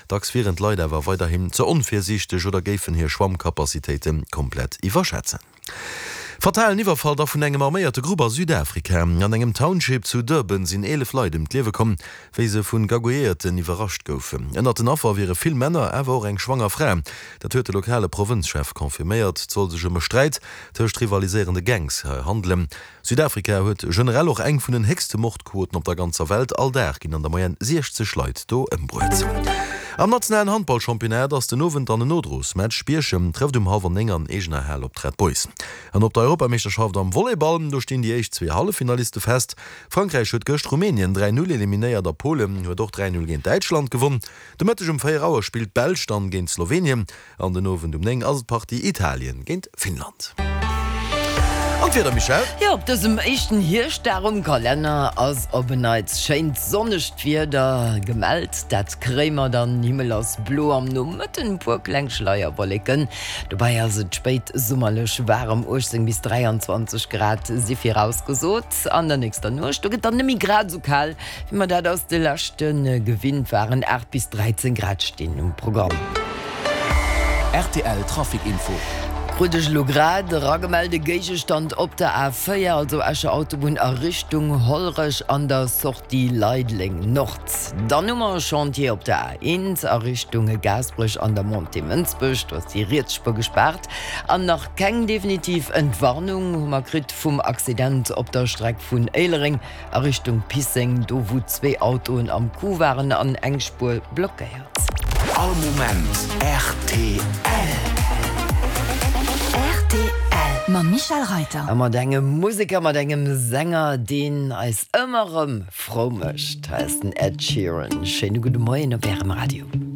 Dacks wieren d'Leit awer weiderhin ze onvirsiichteg oder géifen hir Schwammcapacitéite komplett iwwerschätzen. Fatalen Iwwerfall da vun engem arméierte Grupp a Südafrika. An engem Township zu Durban sinn 11 Leit ëm d'Liewe komm, wéi se vu Gagouilléierten iwwerrascht goufen. Ënnert den Affer wiere vill Männer, awer och eng schwanger Fra. Dat huet de lokale Provënzchef confirméiert. Et soll sech ëm e Sträit tëscht rivaliséierende Gangs handelen. Südafrika huet generell och eng vun den héchste Mordquoten op der ganzer Welt, all Dag ginn an der Moyenne 60 Leit do ëmbruet. Am nationalen Handballchampionnat ass den Owend dann en Nodrosmatch, Bierchem trëfft um hallwer 9 an eegener Hal op d'Red Boys. An op der Europameeschterschaft am Volleyball, do stinn déi éischt zwee Halleffinaliste fest. Frankräich huet gëscht Rumänien 3, 0 eliminéiert a Polen huet och 3, 0 géint Däitschland gewonn. De Mëtteg um 4 Auer spillt d'Belsch dann géint Slowenien. An den Owend um 9 ass et d'Partie Italien géint Finnland. An d'Wieder, Michèle? Jo, op dësem éischten Hierschtdag um Kalenner ass op en Neits schéint sonnegt Wieder gemellt. Dat kréie mer dann, Himmel ass blo, am Nomëtten e puer kleng Schleierwolleken. Dobäi ass et spéit summerlech waarem, 18 bis 23 Grad si virausgesot. An der nächster Nuecht, do gëtt dann net méi grad esou kal, Wéi mer dat aus de leschte gewinnt waren, 8 bis 13 Grad stinn um Programm. Rtl Trafic Info. Krut ech elo grad eragemellt, e Géigestand op der A4, also Escher Autobunn a Richtung Hollerech an der Sortie Leideleng Nord. Dann hu mer e Chantier op der A1 a Richtung Gaasperech an der Montée Mënsbech, do ass déi riets Spuer gespaart. An nach keng definitiv Entwarnung hu mer kritt vum Accident op der Streck vun Éilereng A Richtung Pisseng, do wou zwee Autoen am Coup waren an eng Spuer blockéiert. All Moment rtl. Rtl mam Michèle Reyter. A mat engem Museker, mat engem Sänger, deen eis ëmmer erëm frou mécht. Hei ass den Ed Sheeran. Schéine gudde Moien op Ärem Radio.